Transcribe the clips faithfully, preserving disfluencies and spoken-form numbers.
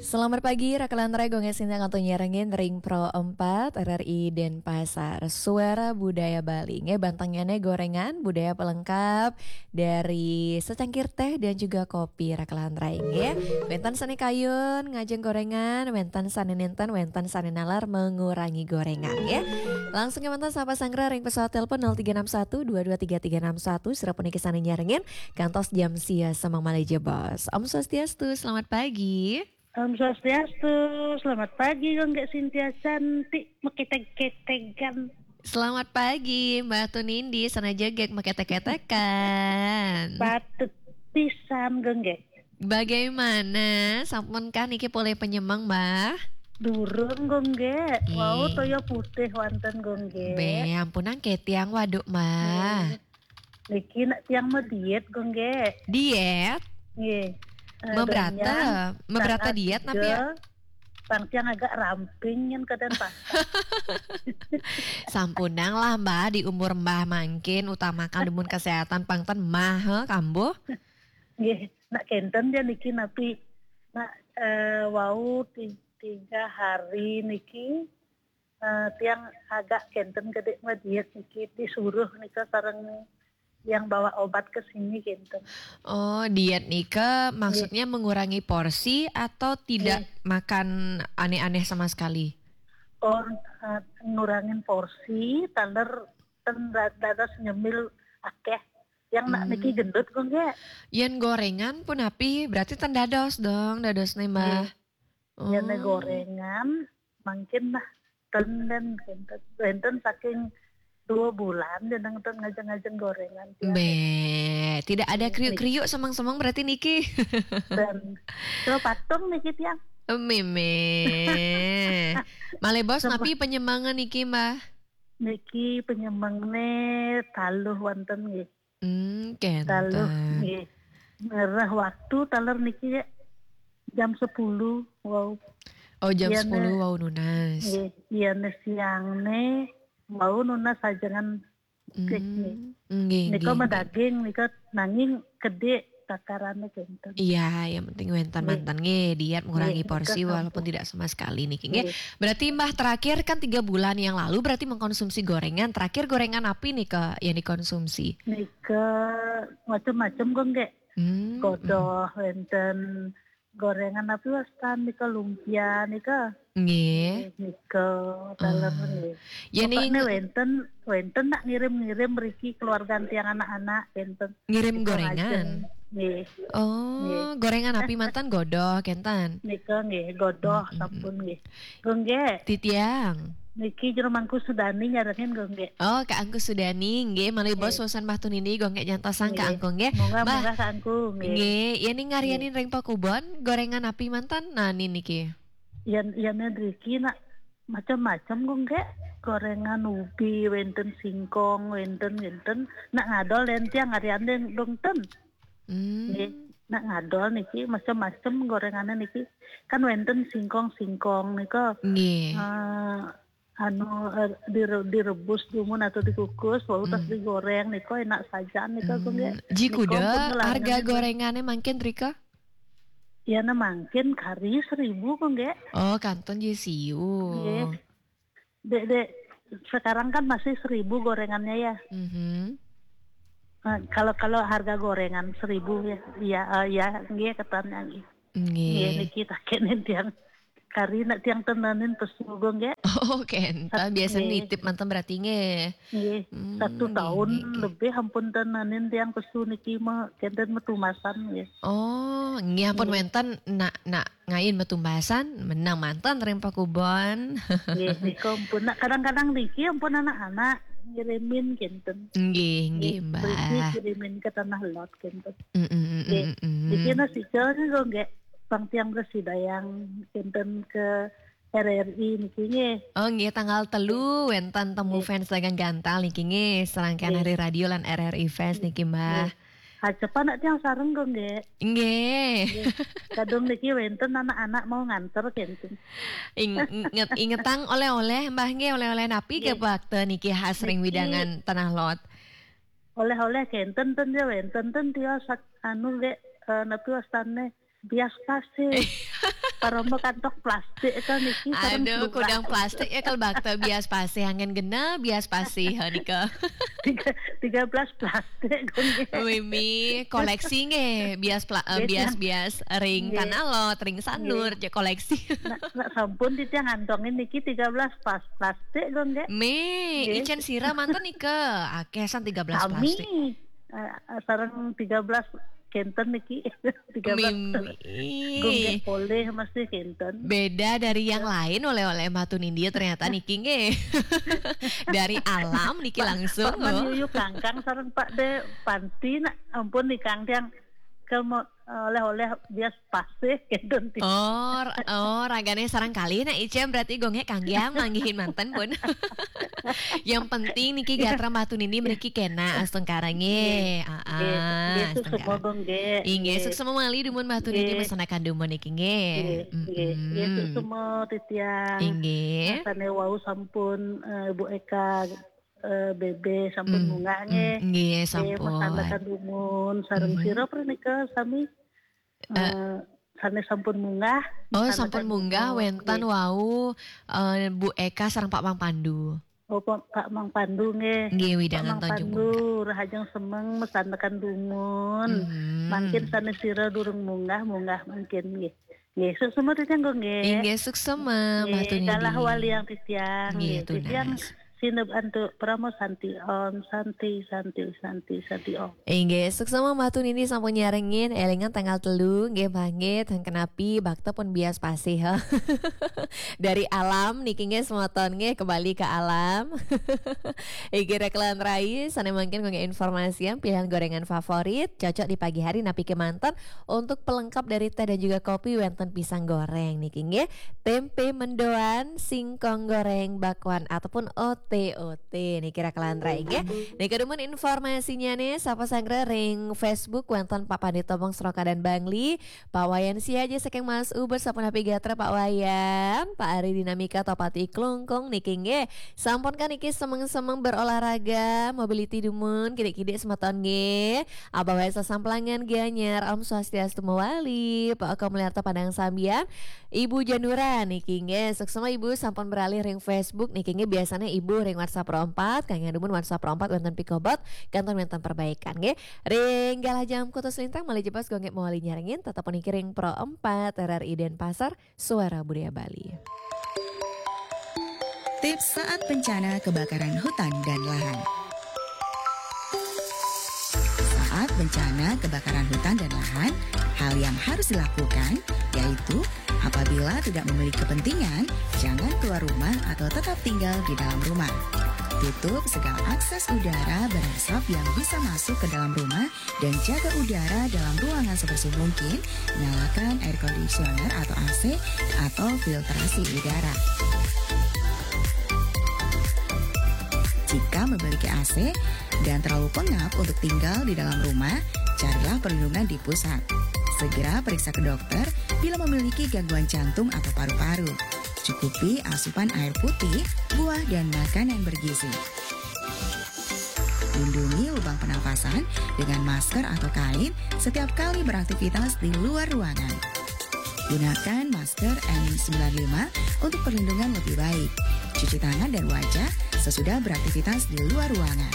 Selamat pagi, Raka lan Rai, Gung Gek Sintia kantun nyarengin ring Pro empat R R I Denpasar. Suara Budaya Bali, nggih, bantengnyané goréngan, budaya pelengkap dari secangkir teh dan juga kopi, Raka lan Rai, nggih. Wénten sané kayun ngajeng goréngan, wénten sané nénten, wénten sané naler mengurangi goréngan, nggih. Langsung kémanten sapa sanggra ring pesawat telepon nol tiga enam satu dua dua tiga tiga enam satu, sira puniki sané nyarengin kantos jam sia semeng malih jebos. Om Swastiastu, selamat pagi. Om Swastiastu, selamat pagi, Gung Gek Sintia cantik, mekétég-kétégan. Selamat pagi, Mbah Tunindi, sané jegég mekéték-kétékan. Patut pisan, Gung Gek. Bagaimana? Sampunkah niki polih penyemeng, Mbah? Durung, Gung Gek. Wau, toya putih wonten, Gung Gek. Bé, ampunang ké tiang waduk, Mbah. Nggih. Niki nak tiang mau diet, Gung Gek. Diet? Nggih. Eh, Mebrata, donya, mebrata tanggal diet napi ya? Tiga, pang tiang agak ramping yen kedan pasar. Sampunang lah, Mbah, di umur Mbah mangkin utamakan dumun kesehatan, pang ten mah, he, kambuh. Nggih, nak kénten ya niki napi nak, eh, wau ti-, tiga hari niki, eh, tiang agak kénten gedé mah diet niki, disuruh nika sareng yang bawa obat ke sini kénten. Oh, diet nika maksudnya mengurangi porsi atau tidak makan aneh-aneh sama sekali? Oh, eh, ngurangin porsi, taler ten da-, dados nyemil akéh. Yang nak niki gendut, Gung Gek. Yén goréngan punapi, berarti ten dados dong, dadosné, Mbah. Nggih. Yén goréngan, mangkin nah, ten, ten, kénten. Wénten saking dua bulan, jeneng ten ngajeng-ngajeng goréngan, tiang. Bé, tidak ada kriuk-kriuk, semeng-semeng berarti niki. Dan, kalau patung niki, tiang. Mémé. Malih bos, napi penyemengan niki, Mbah? Niki penyemengné taluh wonten nggih. Hmm, kénten. Taluh nggih. Ngerah waktu taler niki ya jam sepuluh, wau. Oh, jam sepuluh wau nunas. Nggih, iya, né siangné wau nunas sajengan. Hmm, nggih, nggih, nggih. Nika mah daging, nika nanging gedé takarané kénten. Iya, yang penting wénten manten nggih, diet mengurangi porsi walaupun tidak sama sekali niki nggih. Nggih. Berarti Mbah terakhir kan tiga bulan yang lalu berarti mengkonsumsi goréngan. Terakhir goréngan napi nika yang dikonsumsi? Nika macem-macem, Gung Gek. Hmm, godoh wénten, goréngan napi wastan nika, lumpia nika. Nggih. Nggih, nika, taler nggih. Ya, pokoknya wénten, wénten nak ngirim-ngirim mriki keluarga tiang anak-anak, wénten. Ngirim goréngan? Nggih. Oh, goréngan napi manten, godoh, kénten? Nika nggih, godoh, sampun nggih. Gung Gek. Titiang. Niki Jero Mangku Sudani nyarengin, Gung Gek. Oh, Kak Angku Sudani, nggih, malih bos, wusan Mbah Tunindi, Gung Gek, jantosang Kak Angku, nggih. Nggih. Munggah, munggah, Kak Angku, nggih. Nggih, ya ning ngaryanin ring pakubon, goréngan napi manten, nah, niki. Yan, yan driki nak macem-macem, Gung Gek. Goréngan ubi, wénten singkong, wénten, wénten. Nak ngadol, yen tiang ngaryanin dong ten. Hmm. Nggih. Nak ngadol niki macem-macem goréngané niki. Kan wénten singkong-singkong nika. Nggih. Eh, anu, eh, dire-, direbus dumun atau dikukus, wau tas digoréng nika enak sajan nika, Gung Gek. Hmm, ji kuda harga goréngané mangkin rika? Ya, nah mangkin kari seribu, Gung Gek. Oh, kantun ji siu. Nggih. Dek, dek, sekarang kan masih seribu goréngannya ya. Mhm. Nah, kalau, kalau harga goréngan seribu ya, iya, eh, ya, nggih, ketannya nggih. Nggih. Nggih, niki takénin tiang. Kari nak tiang tenenin pesu, Gung Gek. Oh, kénten. Biasa nitip manten berarti nggih. Nggih. Hmm, satu tahun lebih ampun tenenin tiang pesu niki mah, kénten metumasan nggih. Oh, nggih ampun wénten nak, nak ngain metumbasan, menang manten ring pakubon. Nggih, nika ampun. Nak kadang-kadang niki ampun anak-anak ngirimin kénten. Nggih, nggih, Mbah. Niki kirimin ke Tanah Lot kénten. Mm, mm, mm, nggih. Mm, mm. Niki nasi nih, Gung Gek, pang tiang bersidayang kénten ke R R I niki nggih. Oh, nggih, tanggal telu wénten temu fans dagang gantal niki nggih, serangkaian hari radio lan R R I Fans niki, Mbah. Nggih. Hacepan nak tiang sareng, Gung Gek. Nggih. Nggih. Kadung niki wénten anak-anak mau nganter kénten. Ing-, inget, ingetang oleh-oleh, Mbah nggih, oleh-oleh napi nggih bakte niki khas ring wewidangan Tanah Lot? Oleh-oleh kénten ten ya wénten ten tios sak-, anu nggih, eh, napi wastané? Bias pasih. Parama kantong plastik kan niki sareng Aduh, kudang plastik ya kalau bakta bias pasih, angin genah bias pasih ha nika. Tiga, tiga belas plastik, Gung, nggih. Mimi koleksi nggih, bias pla-, eh, Nggih, bias-bias ring Nggih. Tanah Lot, ring Sanur, Nggih. Cek koleksi. Nak, nak sampun titiang ngantongin niki tiga belas pas-, plastik, Gung, nggih. Mi, Nggih. Icén sira manten nika, akeh san tiga belas Sami. Plastik. Eh, sareng tiga belas kenten niki. Tiga belas Mimi. Gung, nggih, polih mesti kenten. Beda dari yang lain, oleh-oleh Mbah Tunindi ternyata niki nggih. Dari alam niki Pak, langsung, Pak oh. Manyuyu kangkang sareng Pak De Panti nak ampun nih kang tiang ke mo-, oleh-oleh bias pasih kenten. Oh, ra-, oh, ragane sareng kalih nak Icén berarti Gung nggih kanggiang manggihin manten pun. Yang penting niki gatra Mbah Tunindi mriki kena astungkara nggih. Nggih. Ah, Nggih, ah, nggih, astungkara. Suksma, Gung, nggih. Inggih, Nggih. Suksma malih dumun Mbah Tunindi Nggih. Mesanakan dumun niki nggih. Nggih, nggih. Nggih, Mm-mm. Suksma titiang. Inggih. Rasane wau sampun, eh, Bu Eka, eh, Bebe sampun Mm, munggah mm, nggih. Nggih, Nggih, sampun. Mesanakan dumun sareng Mhm. sira prenika sami. Eh. Eh, sane sampun munggah, Oh, mesanakan sampun munggah dumun. Wenten Nggih. Wau, eh, Bu Eka sareng Pak Mang Pandu. Oh, Pak, Pak Mang Pandu nggih. Nggih, Pak widangan Mang Tanjung Pandu, Bungkak. Rahajeng semeng mesanakan dumun. Mhm. Mangkin sane sira durung munggah, munggah mangkin nggih. Nggih, suksma titiang, Gung, nggih. Inggih, suksma, Mbah Nggih, Tunindi. Galah waliang titiang, Nggih, nggih. Titiang tunas. Sineb antuk parama santi om, santi, santi, santi, santi om. Inggih, suksma Mbah Tunindi sampun nyarengin, elingan tanggal telu, nggih, Mbah, nggih, teng kenapi, bakta pun bias pasih, ha. Dari alam niki nggih semeton nggih kembali ke alam. Inggih rekelan rai, sane mangkin nggih informasian pilihan gorengan favorit, cocok di pagi hari napi kemanten untuk pelengkap dari teh dan juga kopi wenten pisang goreng niki nggih. Tempe mendoan, singkong goreng, bakwan ataupun O T O T niki rekelan rai nggih. Niki dumun informasinya nih, sapa sanggra ring Facebook wenten Pak Pandito Bong Seroka dan Bangli. Pak Wayan Siaja saking Mas Ubud sapunapi gatra Pak Wayan, Pak Ari Dinamika Topati Klungkung niki nggih. Sampun kan niki semeng-semeng berolahraga, mobility dumun, kidik-kidik semeton nggih. Abah Wayan Sasamplangan Gianyar, Om Swastiastu Mawali, Pak Oko Mulyarto Padang Sambian, Ibu Janura niki nggih. Suksma Ibu sampun beralih ring Facebook niki nggih, biasanya Ibu ring WhatsApp Pro empat, kangge dumun WhatsApp Pro empat wonten pikobot, kanton wonten perbaikan nggih. Ring galah jam kutus lintang malih jebos gonggek mawali nyarengin, tetep niki ring Pro empat R R I Denpasar, Suara Budaya Bali. Tips saat bencana kebakaran hutan dan lahan. Saat bencana kebakaran hutan dan lahan, hal yang harus dilakukan yaitu apabila tidak memiliki kepentingan, jangan keluar rumah atau tetap tinggal di dalam rumah. Tutup segala akses udara berasap yang bisa masuk ke dalam rumah dan jaga udara dalam ruangan sebersih mungkin, nyalakan air conditioner atau A C atau filtrasi udara. Jika memiliki A C dan terlalu pengap untuk tinggal di dalam rumah, carilah perlindungan di pusat. Segera periksa ke dokter bila memiliki gangguan jantung atau paru-paru. Cukupi asupan air putih, buah, dan makanan bergizi. Lindungi lubang pernafasan dengan masker atau kain setiap kali beraktivitas di luar ruangan. Gunakan masker N sembilan lima untuk perlindungan lebih baik. Cuci tangan dan wajah sesudah beraktivitas di luar ruangan.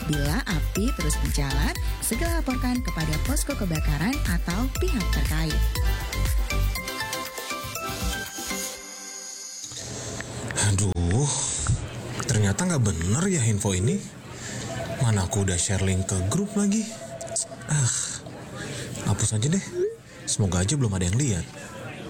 Bila api terus menjalar, segera laporkan kepada posko kebakaran atau pihak terkait. Aduh, ternyata nggak bener ya info ini. Mana aku udah share link ke grup lagi. Ah, hapus aja deh. Semoga aja belum ada yang lihat.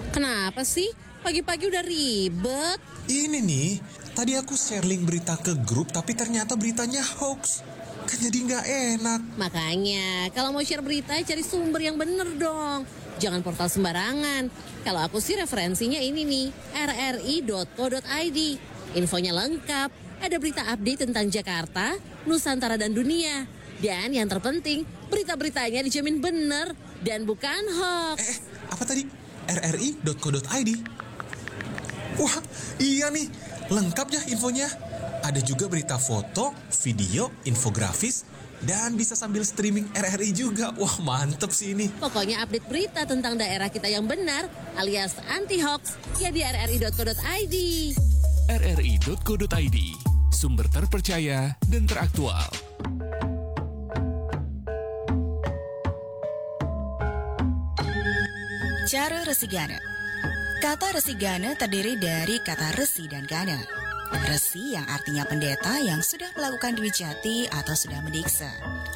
Kenapa sih? Pagi-pagi udah ribet. Ini nih, tadi aku share link berita ke grup, tapi ternyata beritanya hoax. Kan jadi nggak enak. Makanya, kalau mau share berita, cari sumber yang bener dong. Jangan portal sembarangan. Kalau aku sih referensinya ini nih, R R I dot co dot I D. Infonya lengkap. Ada berita update tentang Jakarta, Nusantara dan dunia. Dan yang terpenting, berita-beritanya dijamin bener dan bukan hoax. Eh, eh, apa tadi? R R I dot co dot I D. Wah, iya nih, lengkap ya infonya. Ada juga berita foto, video, infografis, Dan bisa sambil streaming R R I juga. Wah, mantep sih ini. Pokoknya update berita tentang daerah kita yang benar alias anti hoax ya di R R I dot co dot I D. R R I dot co dot I D, sumber terpercaya dan teraktual. Cara Resigana. Kata Resigana terdiri dari kata resi dan gana. Resi yang artinya pendeta yang sudah melakukan dwijati atau sudah mendiksa.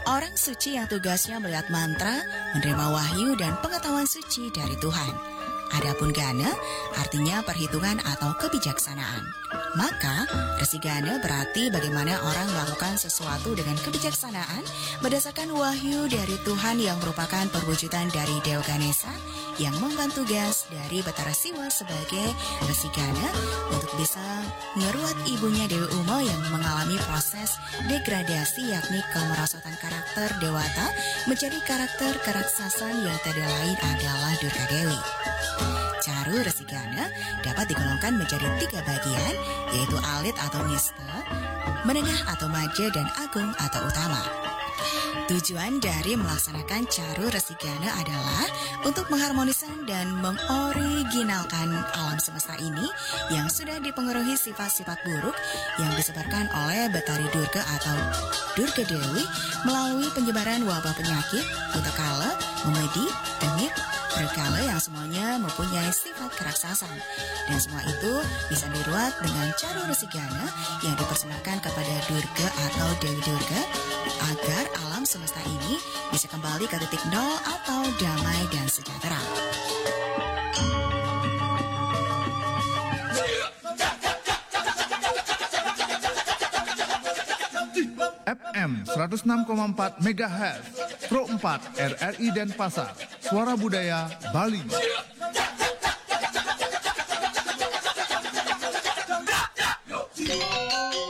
Orang suci yang tugasnya melihat mantra, menerima wahyu dan pengetahuan suci dari Tuhan. Adapun gana artinya perhitungan atau kebijaksanaan. Maka, Resigana berarti bagaimana orang melakukan sesuatu dengan kebijaksanaan berdasarkan wahyu dari Tuhan yang merupakan perwujudan dari Dewa Ganesa yang mengemban tugas dari Batara Siwa sebagai Resigana untuk bisa meruat ibunya Dewi Uma yang mengalami proses degradasi, yakni kemerosotan karakter dewata menjadi karakter keraksasan yang tidak lain adalah Durga Dewi. Caru Resigana dapat digolongkan menjadi tiga bagian, yaitu alit atau nista, menengah atau maja, dan agung atau utama. Tujuan dari melaksanakan caru resigana adalah untuk mengharmoniskan dan mengoriginalkan alam semesta ini yang sudah dipengaruhi sifat-sifat buruk yang disebarkan oleh Betari Durga atau Durga Dewi melalui penyebaran wabah penyakit, putakala, memedi, tengik, berkala yang semuanya mempunyai sifat keraksasan. Dan semua itu bisa diruat dengan caru resigana yang dipersembahkan kepada Durga atau Dewi Durga agar alam semesta ini bisa kembali ke titik nol atau damai dan sejahtera. F M seratus enam koma empat megahertz, Pro empat R R I Denpasar, Suara Budaya Bali.